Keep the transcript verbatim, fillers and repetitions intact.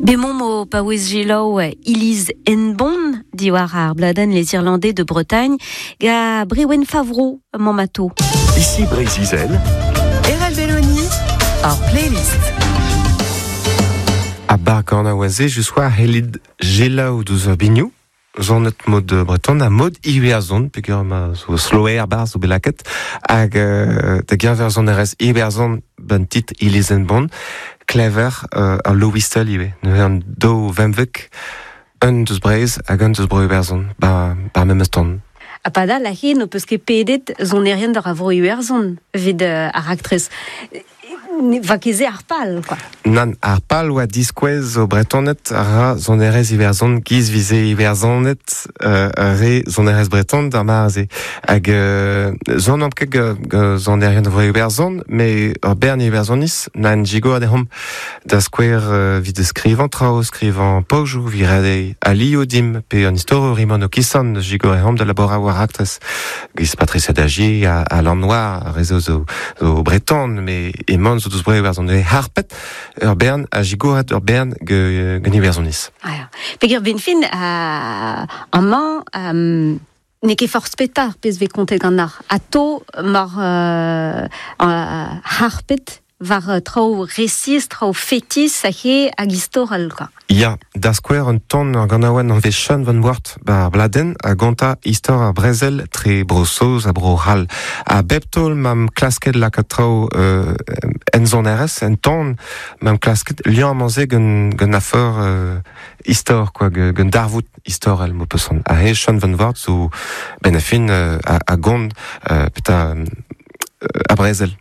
Bemont o paouez gelaou Iliz Enbon diwar ar bladenn Les Irlandais de Bretagne ga Brewen Favreau mamato. Ici Brésil. Erel Belloni, ar playlist. A bar gant a oaze, je sois helid gelaou deus ur biniou, zonet mod breton a mod iwerzon, peogwir ma zo sloer bar zo belaket, hag euh, da geñver sonerezh iwerzon ben tit Iliz Enbon, klever euh, ar low whistle ivez. Neuze an daou vemvek, un deus Breizh hag un deus bro Iwerzhon, ba, ba memes ton. A padal a hen o peus ket pedet sonerien d'ar a vro Iwerzhon evit euh, ar aktrez. Va ket se ar pal, quoi. Nan, ar pal oa diskouez o bretonet a ra sonerezh Iwerzhon giz vize Iwerzhonet euh, re sonerezh breton d'ar mare-se. Hag euh, zon am ket ge sonerien vro Iwerzhon, me ur bern Iwerzhonis nan jigo a dehomp da skouer euh, vid skrivañ traoù, skrivañ pojou, vi rede alio dim, pe an istor rimon o kisan jigo a dehomp da labora war aktrez. Giz Patricia Dagier a, a Lannois, a rezo zo, zo breton, me eman zo deus bro Iwerzhon. E harpet ur bern a jigoret ur bern ge, gen Iwerzhonis. Ah, ya. Peogwir ben fin euh, amañ euh, n'eo ket forzh petra ar pezh vez kontet gant ar ato mar euh, euh, harpet war euh, traoù resis, traoù fetis a he hag istorel, quoi. Ya, da skouer un ton ur ganaouenn an vez Sean van Wart ba bladen a gonta istor ar brezel tre bro Saoz ha bro C'hall. A bep taol m'am klasket lakaat traoù euh, en sonerezh, en ton m'am klasket liamm amañ-se gant, gant afer euh, istor, quoi, gant darvoud istorel mo peus A he Sean van Wart zo ben a fin euh, a, a gont euh, peta euh, a brezel.